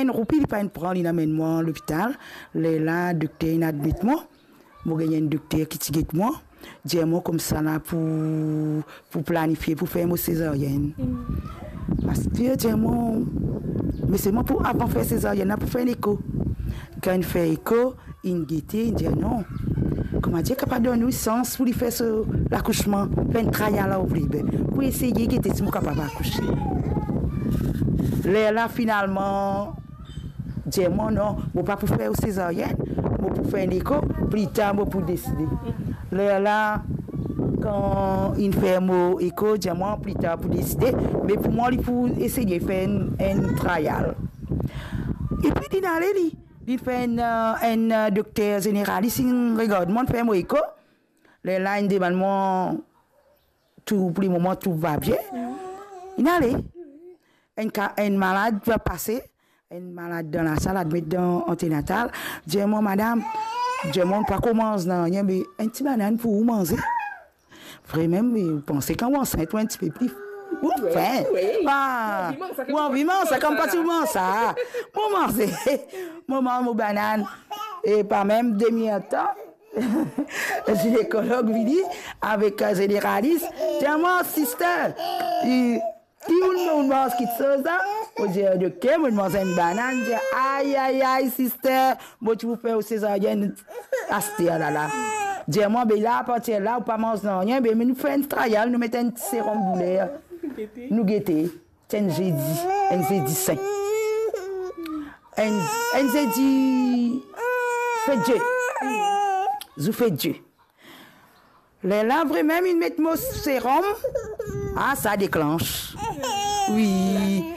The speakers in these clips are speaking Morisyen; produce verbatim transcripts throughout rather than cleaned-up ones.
enn roupi li pa enn pran, li amenn mwa lopital. Lerla dokter inn admet mwa. Mo gagn enn dokter ki ti get mwa, dir mwa koumsa la pou, pou planifie pou fer mo sezaryenn. Aster dir mwa, me selman pou avan fer sezaryenn la pou fer enn eko. Kan inn fer eko, inn gete, inn dir non. Kouma dir, kapav donn ou sans pou li fer so lakousman, fer enn trial la, ou vle, be, pou eseye gete si mo kapav akouse. Lerla finalman, dir mwa non, mo pa pou fer ou sezaryenn, mo pou fer enn eko, pli tar mo pou deside. Lerla, kan inn fer mo eko, dir mwa pli tar pou deside, me pou mwa li pou eseye fer enn, enn trial. Epi linn ale li, linn fer enn, enn dokter zeneralis, inn regard mwa, fer mo eko. Lerla inn demann mwa, tou pou lemoman tou va bien. Inn ale. Enn ka, enn malad pase, enn malad dan lasal, admet dan antenatal, dir mwa, madam, dir mwa, ou pa koumans nanye, me enn ti banann pou ou manze. Vremem, me ou panse kan ou ansint, ou enn tipe pli, ou fen. Wi, wi. Ah, ou anvi manz sa, ou anvi manz sa, kan ou pa ti manz sa. Mo manze, mo manz mo banann. E pa mem demi-er tan, zinekolog vini avek, eh, zeneralis. Dir mwa, sister, i, ki ou, ou manz kitsoz la? Mo dir, dokter, mo manz enn banann. Dir, ay, ay, ay, sister, mo ti pou fer ou sezaryenn aster la la. Dir mwa, be la, apartir la, ou pa manz nanye, be nou fer enn trial, nou met enn serom douler. Nou gete. Ti enn zedi, enn zedi sin. Enn, enn zedi fet Die. Zour fet Die. Lerla vremem inn met mo serom. Ah, sa deklansh. Wi.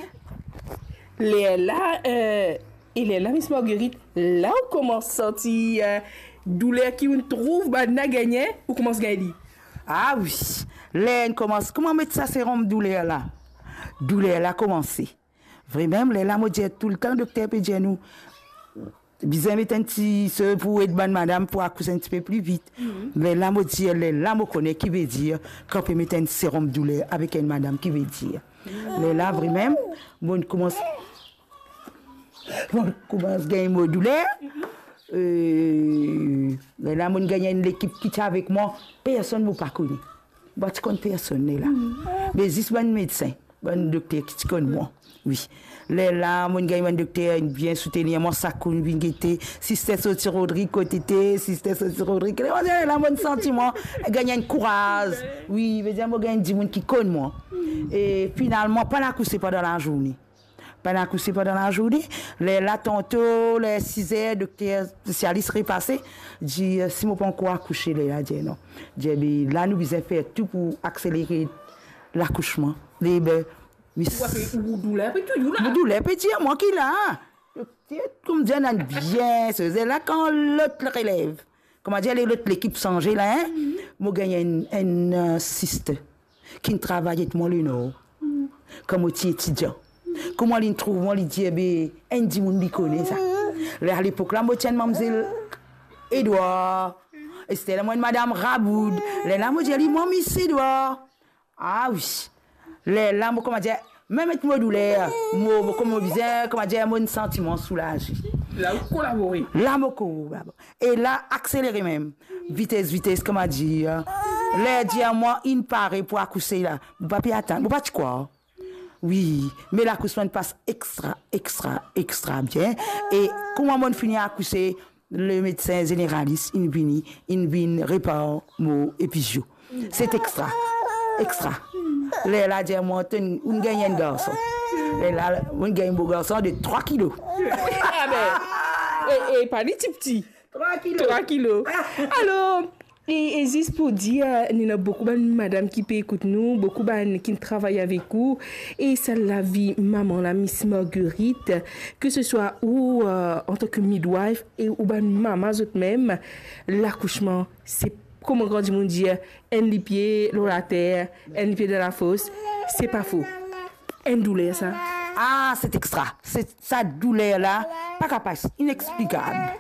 Lerla, eh, e lerla, Miss Marguerite, la ou koumans santi, eh, douler ki ou'nn trouv bann la gagne, ou koumans gagn li? Ah wi. Ler inn koumans, kouma met sa serom douler la, douler la koumanse. Vremem, lerla mo dir toultan, dokter pe dir nou, bizin met enn ti se pou ed bann madam pou akouse enn tipe pli vit. Lerla mo dir, lerla mo kone ki vedir kan pe met enn serom douler avek enn madam, ki vedir. Lerla vremem, mo koumans, mo koumans gagn mo douler. Eh, lerla mo gagn enn lekip ki ti avek mwa, personn mo pa kone. Mo pa ti konn personn lerla. Me zis bann medsin, bann dokter ki ti konn mwa. Wi. Lerla mo gagn bann dokter bien soutenir mwa, sakenn vinn gete, sister sorti Rodrig kot ete, sister sorti Rodrig. Lerla mo santi mwa gagn enn kouraz. Wi, vedir mo gagn dimoun ki konn mwa. E finalman, pa'nn akouse pandan lazourne. Pa'nn akouse pandan lazourne. Lerla tanto, ler siz er, dokter spesialis repase, dir, si mo pa ankor akouse, lerla dir non. Dir, be la nou bizin fer tou pou akselere lakousman. Lerla, be, mis-, ou, ou douler pe touzour la? Mo douler pe dir mwa ki la. Dokter, kouma dir, ena bien, se la kan lot relev. Kouma dir, le, lot lekip sanze la, en? Mo gagn enn, enn, eh, sister ki'nn travay ek mwa Lenor, kan mo ti etidian. Kouma li'nn trouv mwa, li dir, be, enn dimoun li kone sa. Ler, alepok la, mo ti enn mamzel Edward. Ester la, mo enn madam Raboud. Lerla mo dir li, mwa Miss Edward. Ah wi. Lerla mo, kouma dir, mem met mo douler, mo, mo, kouma mo bizin, kouma dir, mo santi mwa soulaze. La ou kolabore. La mo kolabore. E la akselere mem. Vites, vites, kouma dir. Ler dir mwa inn pare pou akouse la, mo pa pe atann, mo pa ti krwar. Wi, me lakousman pas extra, extra, extra bien. E kouma mo fini akouse, le medsin zeneralis inn vini, inn vinn repar mo epizio. Se extra, extra. Lerla dir mwa, to, ou'nn gagn enn garson. Lerla, ou'nn gagn mo garson de trwa kilo. Ah be, e, e pa li tipti. Trwa kilo. Trwa kilo. Alor, e, e zis pou dir, nou ena boukou bann madam ki pe ekout nou, boukou bann ki travay avek ou, e sa lavi mama la, Miss Marguerite, ke se swa ou, eh, antan ke midwife, e ou bann mama zot mem, lakousman, se kouma gran dimoun dir, enn lipie lor later, enn lipie dan lafos, se pa fo. Enn douler sa. Ah, se extra. Se, sa douler la, pa kapav, inexplikab.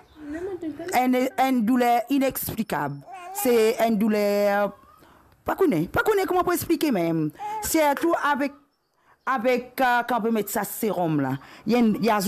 Enn, enn douler inexplikab. Se enn douler, pa kone, pa kone kouma pou explike mem. Sirtou avek, avek, eh, kan pe met sa serom la. Li enn, li azout